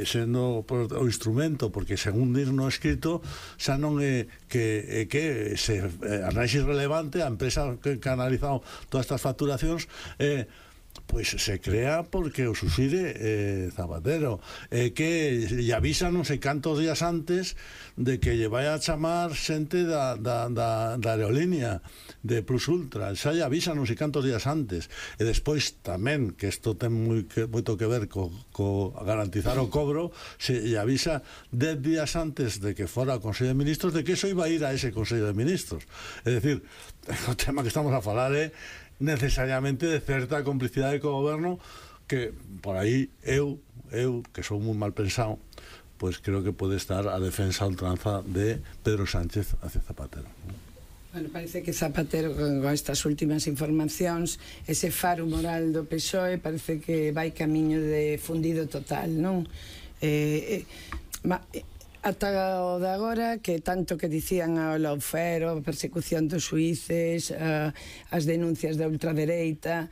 sendo o instrumento, porque según dir no escrito xa non é que se análise relevante a empresa que ha analizado todas estas facturacións pois se crea porque o subside Zapatero, que lle avisa non sei cantos días antes de que lle vai a chamar xente da aerolínea de Plus Ultra, xa lle avisa non sei cantos días antes, e despois tamén, que isto ten moito que ver co garantizar o cobro, se lle avisa 10 días antes de que fora o Consello de Ministros de que eso iba a ir a ese Consello de Ministros. É dicir, o tema que estamos a falar é necesariamente de certa complicidade co goberno, que por aí eu que sou moi mal pensado, pois creo que pode estar a defensa a ultranza de Pedro Sánchez hacia Zapatero. Bueno, parece que Zapatero con estas últimas informacións, ese faro moral do PSOE parece que vai camiño de fundido total, non? Ata o de agora, que tanto que dicían ao lawfare, a persecución dos xuíces, as denuncias da ultradereita,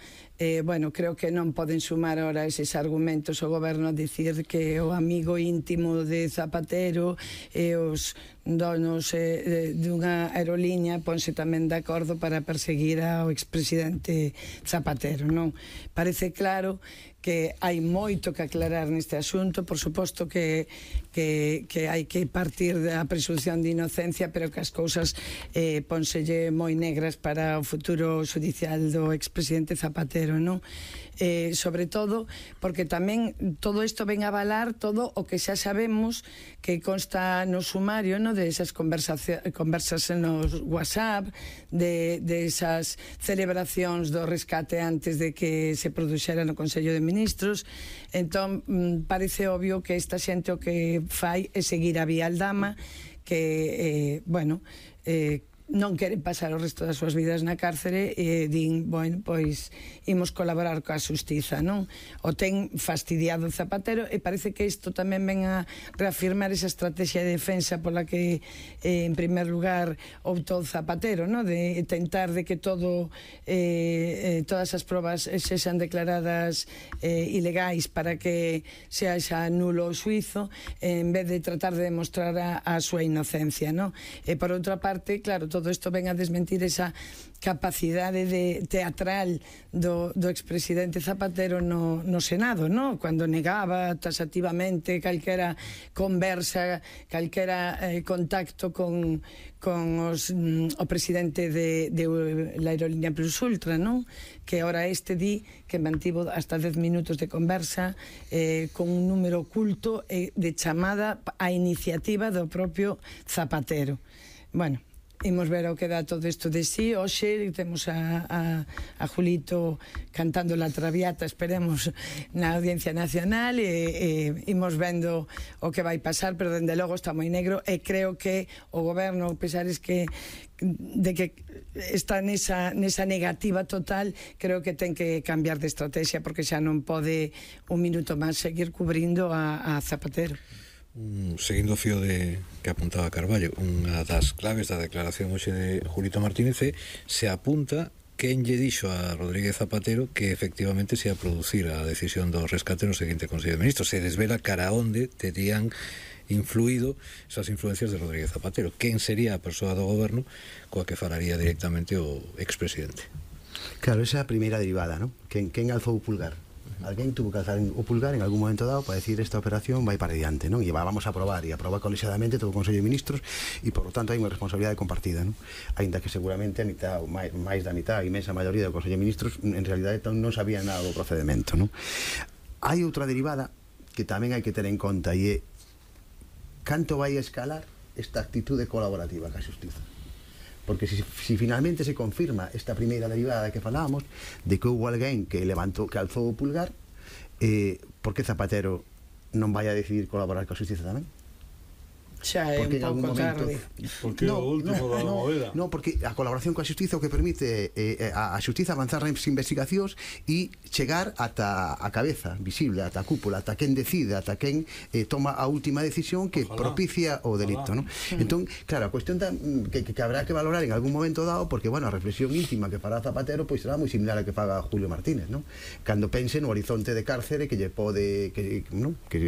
bueno, creo que non poden sumar ahora eses argumentos o goberno a dicir que o amigo íntimo de Zapatero e os donos dunha aerolínea ponse tamén de acordo para perseguir ao expresidente Zapatero, non? Parece claro que hai moito que aclarar neste asunto, por suposto que hai que partir da presunción de inocencia, pero que as cousas pónselle moi negras para o futuro judicial do expresidente Zapatero, non? Sobre todo porque tamén todo isto ven a avalar todo o que xa sabemos que consta no sumario, non? De esas conversas nos WhatsApp, de esas celebracións do rescate antes de que se produxera no Consello de Ministros. Entón parece obvio que esta xente o que fai é seguir a vía aldama, que bueno, non queren pasar o resto das súas vidas na cárcere e din, bueno, pois imos colaborar coa xustiza, non? O ten fastidiado Zapatero e parece que isto tamén ven a reafirmar esa estrategia de defensa pola que en primer lugar optou Zapatero, non? De tentar de que todas as probas sexan declaradas ilegais para que sea xa nulo o xuizo, en vez de tratar de demostrar a súa inocencia, non? E por outra parte, claro, todo isto ven a desmentir esa capacidade teatral do expresidente Zapatero no Senado, non? Cando negaba taxativamente calquera conversa, calquera contacto con o presidente de la aerolínea Plus Ultra, non? Que ahora di que mantivo hasta 10 minutos de conversa con un número oculto de chamada a iniciativa do propio Zapatero. Bueno, imos ver o que dá todo isto de sí. Hoxe temos a Julito cantando La Traviata, esperemos, na Audiencia Nacional, e imos vendo o que vai pasar, pero dende logo está moi negro, e creo que o goberno, a pesar de que está nesa negativa total, creo que ten que cambiar de estrategia, porque xa non pode un minuto máis seguir cubrindo a Zapatero. Seguindo o fío que apuntaba Carballo, unha das claves da declaración hoxe de Julito Martínez se apunta quen lle dixo a Rodríguez Zapatero que efectivamente se ia producir a decisión do rescate no seguinte Consello de Ministros. Se desvela cara onde terían influído esas influencias de Rodríguez Zapatero. Quen sería a persoa do goberno coa que falaría directamente o expresidente? Claro, esa é a primeira derivada, non? Quen alzou o pulgar? Alguén tuvo que alzar o pulgar en algún momento dado para decir esta operación vai para diante, non? E vamos a aprobar, e aprobar colexiadamente todo o Consello de Ministros, e por lo tanto hai unha responsabilidade compartida, non? Ainda que seguramente a mitad, ou máis da mitad, a imensa maioría do Consello de Ministros en realidade non sabía nada do procedimento, non? Hai outra derivada que tamén hai que ter en conta, e é canto vai escalar esta actitude colaborativa ca xustiza. Porque si finalmente se confirma esta primeira derivada que falábamos de que houve alguén que alzou o pulgar, por que Zapatero non vai a decidir colaborar coa xustiza tamén? Xa é un pouco tarde. Porque o último da movida. Non, porque a colaboración coa xustiza o que permite a xustiza avanzar nas investigacións e chegar ata a cabeza visible, ata a cúpula, ata quen decide, ata quen toma a última decisión que propicia o delito, non? Entón, claro, a cuestión que habrá que valorar en algún momento dado, porque, bueno, a reflexión íntima que fará Zapatero pois será moi similar a que faga Julio Martínez, non? Cando pense no horizonte de cárcere que lle pode, non? Que